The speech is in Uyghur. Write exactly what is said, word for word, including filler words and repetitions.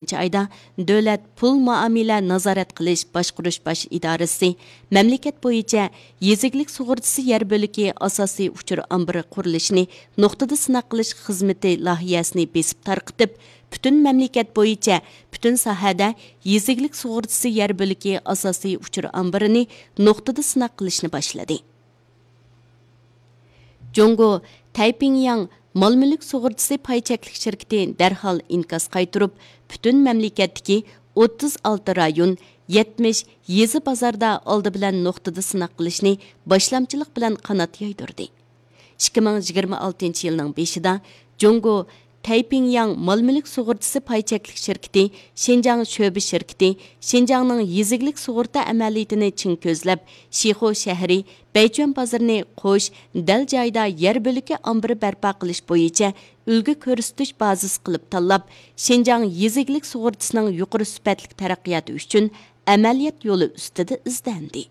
ئايدا دۆلەت پۇل مۇئامىلە نازارەت قىلىش باشقۇرۇش باش ئىدارىسى مەملىكەت بويىچە يېزا ئىگىلىك سۇغۇرتىسى يەر بۆلىكى ئاساسىي ئۇچۇر ئامبىرى قۇرۇلۇشىنى نۇقتىدا سىناق قىلىش خىزمىتى لايىھەسىنى بېسىپ تارقىتىپ، پۈتۈن مەملىكەت بويىچە پۈتۈن ساھەدە يېزا ئىگىلىك سۇغۇرتىسى يەر بۆلىكى ئاساسىي ئۇچۇر ئامبىرىنى نۇقتىدا سىناق قىلىشنى باشلىدى. جۇڭگو تەيپىڭياڭ مال مۈلۈك سۇغۇرتىسى پاي چەكلىك شىركىتى دەرھال ئىنكاس قايتۇرۇپ، پۈتۈن مەملىكەتتىكى ئوتتۇز ئالتە رايون، يەتمىش يېزا بازاردا ئالدى بىلەن نۇقتىدا سىناق قىلىشنى باشلامچىلىق بىلەن قانات يايدۇردى. ئىككى مىڭ يىگىرمە ئالتىنچى يىلنىڭ بېشىدا جۇڭگو تەيپىڭياڭ مال مۈلۈك سۇغۇرتىسى پاي چەكلىك شىركىتى شىنجاڭ شۆبە شىركىتى شىنجاڭنىڭ يېزا ئىگىلىك سۇغۇرتا ئەمەلىيىتىنى چىڭ كۆزلەپ، شىخۇ شەھىرى بەيچۈەن بازىرىنى قوش، دەل جايىدا يەر بۆلىكى ئامبىرى بەرپا قىلىش بويىچە ئۈلگە كۆرسىتىش بازىسى قىلىپ تاللاپ، شىنجاڭ يېزا ئىگىلىك سۇغۇرتىسىنىڭ يۇقىرى سۈپەتلىك تەرەققىياتى ئۈچۈن ئەمەلىيەت يولى ئۈستىدە ئىزدەندى.